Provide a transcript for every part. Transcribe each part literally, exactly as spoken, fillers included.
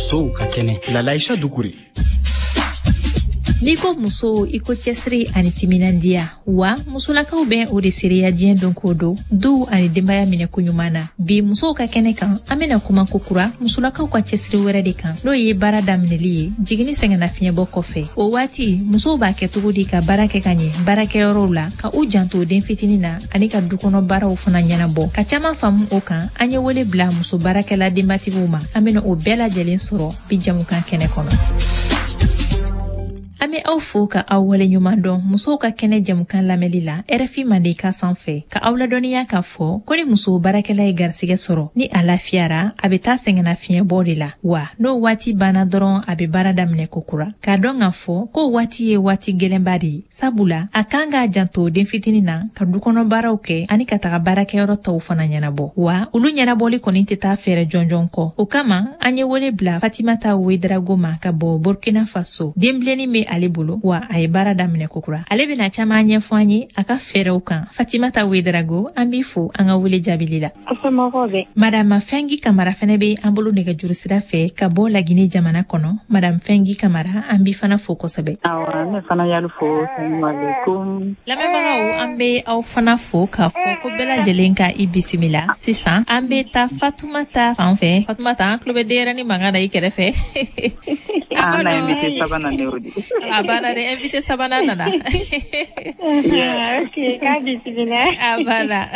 Musow ka kɛnɛ. Lalaïcha Doucouré. N'i ko muso, i ko cɛsiri ani timinandiya. Wa musolakaw bɛ o de seereya diɲɛ don ko don, duw ani denbaya minɛ koɲuman na. Bi musow ka kɛnɛ kan, an bɛna kuma kokura musolakaw ka cɛsiri wɛrɛ de kan, n'o ye baara daminɛli ye jiginni sɛgɛnnafiɲɛbɔ kɔfɛ. O waati musow b'a kɛ cogo di ka baara kɛ ka ɲɛ baarakɛyɔrɔw la, ka u janto den fitinin na ani ka dukɔnɔ baaraw fana ɲɛnabɔ? Ka caman faamu o kan, an ye wele bila muso baarakɛla denbatigiw ma. An bɛna o bɛɛ lajɛlen sɔrɔ bi jamukan kɛnɛ kɔnɔ. An bɛ aw fo ka aw waleɲuman dɔn musow ka kɛnɛ jamukan lamɛnli la R F I Mandenkan sanfɛ. Ka aw ladɔnniya k'a fɔ ko ni muso baarakɛla ye garisigɛ sɔrɔ, ni a lafiyara, a bɛ taa sɛgɛnna fiɲɛbɔ de la. Wa n'o waati banna dɔrɔn, a bɛ baara daminɛ kokura. K'a dɔn k'a fɔ ko waati ye waati gɛlɛnba de ye, sabula a kan k'a janto den fitinin na, ka dukɔnɔ baaraw kɛ ani ka taga baarakɛyɔrɔ tɔw fana ɲɛnabɔ. Wa olu ɲɛnabɔli kɔni tɛ taa fɛɛrɛ jɔnjɔn kɔ. O kama an ye wele bila Fatimata Ouédraogo ma ka bɔ Burkina Faso. Denbilennin bɛ ale bolo, wa a ye baara daminɛ kokura. Ale bɛna caman ɲɛfɔ an ye a ka fɛɛrɛw kan. Fatimata Ouédraogo, an b'i fo an ka wele jaabili la. Madame Fɛngi Kamara fɛnɛ bɛ an bolo nɛgɛjuru sira fɛ ka bɔ Lagine jamana kɔnɔ. Madame Fɛngi Kamara, an b'i fana fo kosɛbɛ. Awɔ, ne fana y'alu fo. Salamaleykum. Lamɛnbagaw, an bɛ aw fana fo k'a fɔ ko bɛɛ lajɛlen ka i bisimila. Sisan an bɛ taa Fatumata fan fɛ. Fatumata, an tulo bɛ denyɛrɛnin mankan na i kɛrɛfɛ. An na invité sabanan de y'o di. A banna dɛ, invité sabanan nana. Ok, k'a bisimila. A banna.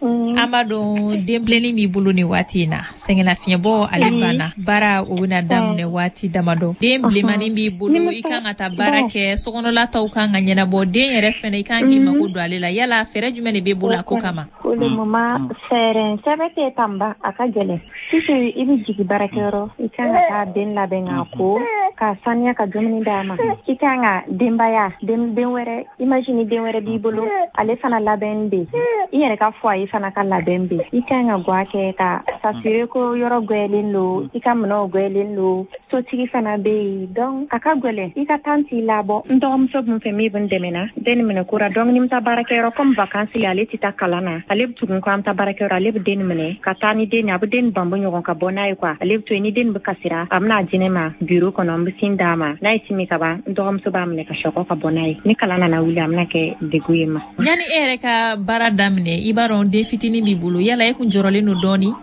An b'a dɔn denbilennin b'i bolo nin waati in na, sɛgɛnnafiɲɛbɔ ale banna, baara o bɛna daminɛ waati damadɔ. Den bilenmanin b'i bolo, i kan ka taa baara kɛ, sokɔnɔla taw kan ka ɲɛnabɔ, den yɛrɛ fɛnɛ, i kan k'i mako don ale la. Yala fɛɛrɛ jumɛn de b'e bolo a ko kama? Pour le moment, fɛɛrɛ sɛbɛ tɛ tanba, a ka gɛlɛn. Sisan i bɛ jigin baarakɛyɔrɔ, i kan ka taa den labɛn k'a ko, ka saniya, ka dumuni d'a ma. I kan ka denbaya, den den wɛrɛ, imagine den wɛrɛ b'i bolo, ale fana labɛn bɛ, i yɛrɛ ka foyer fana ka labɛn bɛ. I kan ka guwa kɛ ka s'assurer ko yɔrɔ gwɛlen don, i ka minɛnw gwɛlen don, sotigi fana bɛ yen. Donc a ka gɛlɛn, i ka temps t'i labɔ. N dɔgɔmuso bɛ n fɛ min bɛ n dɛmɛ na den minɛ kura. Donc ni n bɛ taa baarakɛyɔrɔ, comme vacances la, ale tɛ taa kalan na, ale bɛ tugun ko an bɛ taa baarakɛyɔrɔ, ale bɛ den minɛ ka taa ni den ye, a bɛ den banbɔ ɲɔgɔn ka bɔ n'a ye quoi. Ale bɛ to yen, ni den bɛ kasira, a bɛna di ne ma bureau kɔnɔ, n bɛ sin d'a ma. N'a ye sin min ka ban, n dɔgɔmuso b'a minɛ ka sɔgɔ ka bɔ n'a ye. Ni kalan nana wuli, a bɛna kɛ degun ye ma. Yanni e yɛrɛ ka baara daminɛ, i b'a dɔn den fitinin b'i bolo, yala e kun jɔrɔlen don dɔɔni?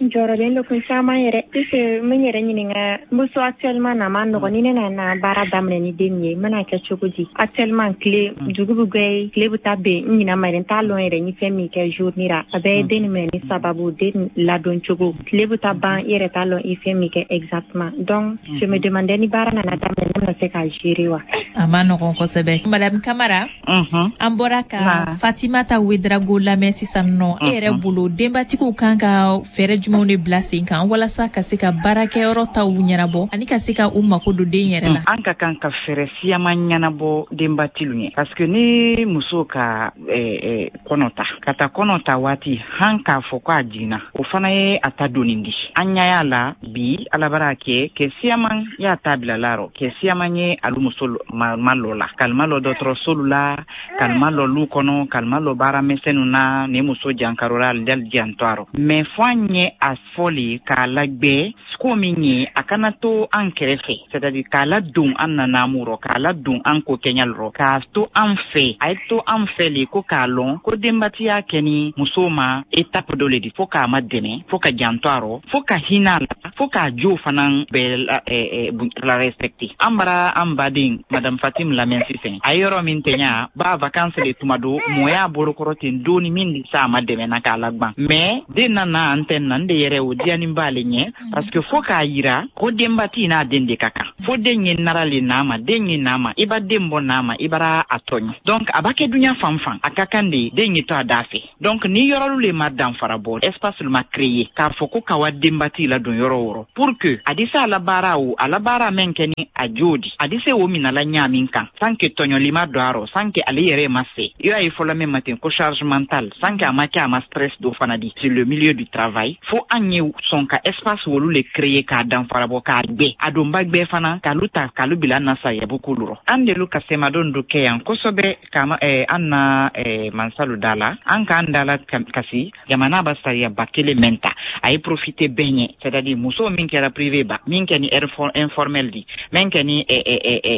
N jɔrɔlen don kun caman yɛrɛ, puisque n bɛ n yɛrɛ ɲininka, n bɛ so actuellement na, a ma nɔgɔn. Ni ne nana baara daminɛ ni den ye, n bɛna kɛ cogo di? Actuellement tile dugu bɛ gwɛ, tile bɛ taa ben, n ɲinɛ ma yɛrɛ, n t'a lɔn yɛrɛ ni fɛn min kɛ journée ra. A bɛɛ ye den minɛ ni sababu, den ladon cogo. Tile bɛ taa ban, i yɛrɛ t'a lɔn i fɛn min kɛ exactement. Donc je me demandais, ni baara nana daminɛ, ne bɛna se ka gérer wa? A ma nɔgɔn kosɛbɛ. Madame Kamara, an bɔra ka Fatimata Ouédraogo lamɛn sisan nɔ. E yɛrɛ bolo, denbatigiw kan ka fɛɛrɛ jumɛnw de bila sen kan walasa ka se ka baarakɛyɔrɔ taw ɲɛnabɔ ani ka se ka u mako don den yɛrɛ la? An ka kan ka fɛɛrɛ siyaman ɲɛnabɔ denbatilu ye, parce que ni muso ka eh, eh, kɔnɔ ta, ka taa kɔnɔ ta waati han k'a fɔ ko a jiginna, o fana ye a ta doni di. An ɲa y'a la bi, Ala bara kɛ kɛ siyaman y'a ta bila la rɔ, kɛ siyaman ye alu muso ma, ma lɔ la, kalima lɔ dɔgɔtɔrɔsolu la, kalima lɔ lu kɔnɔ, kalima lɔ baara misɛnnu na. Ni muso jankarola, ali dali janto a rɔ, mais fo an ye a fɔ le k'a lagbɛ ko min ye, a kana to an kɛrɛfɛ, c'est à dire k'a ladon an na naamu rɔ, k'a ladon an ko kɛɲal rɔ, k'a to an fɛ. A ye to an fɛ le ko k'a lɔn ko denbatiya kɛ ni muso ma étape dɔ le di, fo k'a ma dɛmɛ, fo ka janto a rɔ, fo ka hinɛ a la, fo k'a jo fana bɛɛ la, eh, eh, la respecter. An bara an baden Madame Fatim lamɛn sisan, a ye yɔrɔ min tɛɲa ba vacances le tuma do, mɔ y'a bolokɔrɔ ten doni min di sa a ma dɛmɛ na k'a lagban, mais den nana an tɛ na n de yɛrɛ o diyanin b'ale ɲɛ, parce que fo k'a yira ko denbati n'a den de ka kan, fo den ye nara le n'a ma, den ye n'a ma, i ba den bɔ n'a ma, i bara a tɔɲɔ. Donc a b'a kɛ duɲa fan fan, a ka kan de den ye to a da fɛ. Donc ni yɔrɔlu le ma danfara bɔ, espace le ma créer k'a fɔ ko ka wa denbati ladon yɔrɔ o yɔrɔ, pour que a di se a la baara, o a la baara mɛn kɛ ni a jo di, a di se o minala ɲa min kan, sans que tɔɲɔli ma don a rɔ, sans que ale yɛrɛ ma se i y'a ye fɔlɔ min ma ten ko charge mentale, sans que a ma kɛ a ma stress dɔ fana di sur le milieu du travail. Fo an ye sɔn ka espace wolu le créer k'a danfara bɔ, k'a gbɛ a donba gbɛ fana, k'alu ta k'alu bila na sayabu kolu rɔ. An delu ka semadon do kɛ yan kosɛbɛ kama eh, an na eh, mansalu da la, an k'an da la kasi jamana ba sariya ba kelen mɛn ta, a ye profiter bɛɛ ɲɛ, c'est à dire muso Muso min kɛra privé ba, min kɛ ni informel di, min kɛ ni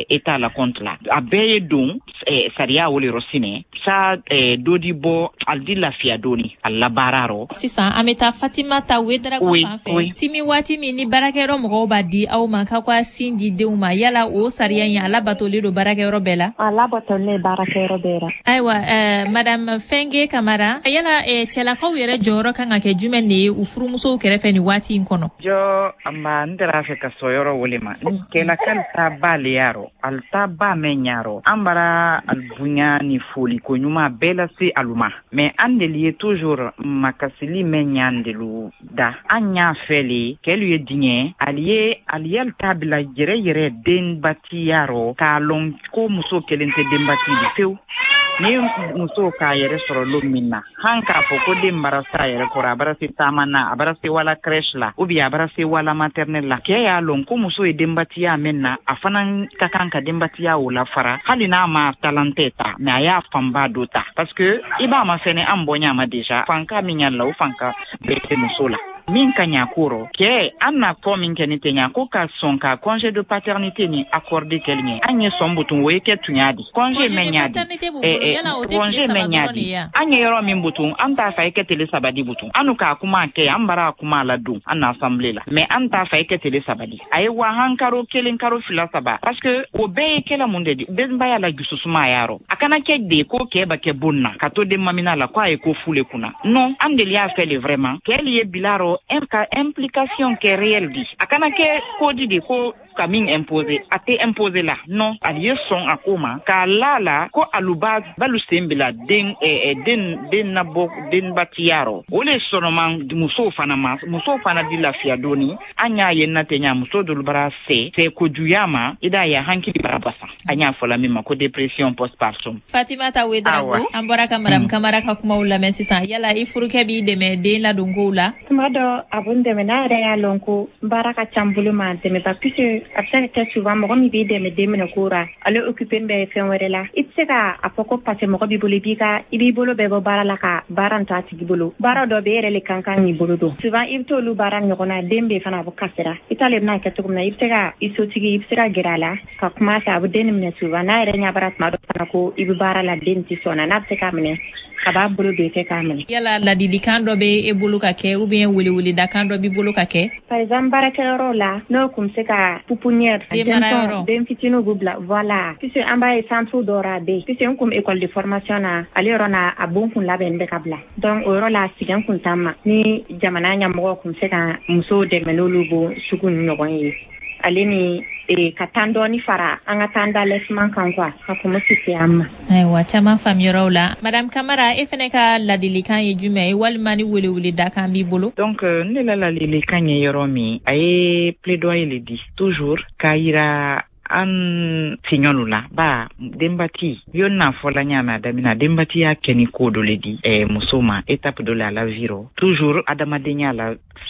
état la compte la, a bɛɛ ye don sariya o le yɔrɔ sinɛ sa dɔ di bɔ ali di lafiya dɔɔni a la baara rɔ. Sisan an bɛ taa Fatimata Ouédraogo fan fɛ. Timi, waati min ni baarakɛyɔrɔ mɔgɔw b'a di aw ma k'aw ka sin di denw ma, yala o sariya in, a labatolen don baarakɛyɔrɔ bɛɛ la? A labatolen baarakɛyɔrɔ bɛɛ la. Ayiwa, ɛɛ madame Fɛnge Kamara, yala cɛlakaw yɛrɛ jɔyɔrɔ kan ka kɛ jumɛn de ye u furumusow kɛrɛfɛ nin waati in kɔnɔ? Jɔ anba, n tɛra fɛ ka sɔn yɔrɔ wele ma. Kɛlakal ta ba le yarɔ, ali ta ba mɛn ɲarɔ, an bara ali bonya ni foli ko ɲuman bɛɛ lase alu ma, mais an deli ye toujours makasili mɛn ɲan delu da. An y'a fɛ le kɛlu ye diɲɛ ali ye ali y'ali ta bila yɛrɛ yɛrɛ denbatiya rɔ, k'a lɔn ko muso kelen tɛ denbati di fewu. Ni muso k'a yɛrɛ sɔrɔ lon min na, han k'a fɔ ko den bara se a yɛrɛ kɔrɔ, a bara se taama na, a bara se wala crèche la, ou bien a bara se wala maternelle la, kɛ y'a lɔn ko muso ye denbatiya min na, a fana ka kan ka denbatiya o la fara, hali n'a ma talentɛ ta, mais a y'a fanba dɔ ta, parce que i b'a ma fɛnɛ an bɔ ma déjà fanka min y'a la, o fanka bɛɛ tɛ muso la. Min ka ɲa ko rɔ kɛ, an na kɔ min kɛ ni tɛ ɲa ko ka sɔn ka congé de paternité ni accordé kɛli ɲɛ, an ye sɔn butun, o ye kɛ tunya di congé mɛn ɲa di, congé mɛn ɲa di. An ye yɔrɔ min butun, an t'a fɛ i kɛ tele saba di butun. An k'a kuma kɛ, an bara a kuma la don an na assemblée la, mais an t'a fɛ i kɛ tele saba di, a ye wa han karo kelen, karo fila, saba, parce que o bɛɛ ye kɛla mun de di denbaya la jususuma y'a rɔ. A kana kɛ de ko kɛ ba kɛ bon na ka to den mamina la ko a ye ko fu le kunna. Non, an deli y'a fɛ le vraiment kɛli ye bila rɔ ka implication kɛ réel di. A kana kɛ ko di de ko ka min imposer, a tɛ imposer la. Non, ali ye sɔn a ko ma k'a la la ko aluba balu sen bila den eh, den den nabɔ denbatiya rɔ. O le sɔnɔman musow fana ma, musow fana di lafiya dɔɔni. An y'a ye na tɛ ɲa, muso dolu bara se se kojuya ma, i d'a ye hankili bara basa, an y'a fɔla min ma ko dépression postpartum. Fatimata Ouédraogo, an bɔra ka madame Kamara ka kumaw lamɛn sisan. Yala i furukɛ b'i dɛmɛ den ladonkow la? Tuma dɔ a b'o dɛmɛ, n'a yɛrɛ y'a lɔn ko baara ka ca n bolo ma dɛmɛ ba, puisque a bɛ se ka kɛ souvent mɔgɔ min b'i dɛmɛ den minɛ ko ra, ale occupé bɛ fɛn wɛrɛ la. I tɛ se ka a fɔ ko parce que mɔgɔ b'i bolo, i b'i ka i b'i bolo bɛɛ bɔ baara la ka baara in to a tigi bolo. Baara dɔ bɛ e yɛrɛ le kan kan k'i bolo don. Souvent i bɛ t'olu baara ɲɔgɔn na, den bɛ fana a bɛ kasira, i t'ale bɛna kɛ cogo min na, i bɛ se ka i sotigi, i bɛ se ka gɛrɛ a la ka kuma a fɛ, a bɛ den minɛ. Souvent n'a yɛrɛ ɲɛ bara tuma dɔ fana ko i bɛ baara la, den tɛ sɔn na, n'a bɛ se k'a minɛ, a b'a bolo don i kɛ k'a minɛ. Yala ladilikan dɔ bɛ e bolo ka kɛ, ou bien weleweledakan dɔ b'i bolo ka kɛ? Par exemple baarakɛyɔrɔ la, n'o kun bɛ se ka pouponnière, den fitininw b'u bila, voilà, puisque an b'a ye centre dɔ ra a bɛ yen, puisque n kun bɛ école de formation na, ale yɔrɔ na a bon kun labɛn bɛ ka bila, donc o yɔrɔ la sɛgɛn kun t'an ma. Ni jamana ɲɛmɔgɔw kun bɛ se ka musow dɛmɛ n'olu bon sugu ni ɲɔgɔn ye, ale ni ka tan dɔɔni fara an ka tan d'allaitement kan quoi, a kun bɛ fisaya an ma. Ayiwa, caman faamuyaraw la. Madame Kamara, e fɛnɛ ka ladilikan ye jumɛn ye, walima ni weleweledakan b'i bolo? Donc ne la ladilikan ye yɔrɔ min, a ye plaidoyer le di toujours k'a yira an tiɲɔlu la ba denbati yo n'a fɔla ɲa mɛ a daminɛ denbati y'a kɛ ni ko dɔ le di eh, muso ma, étape dɔ le a la vie rɔ, toujours adamadenya la.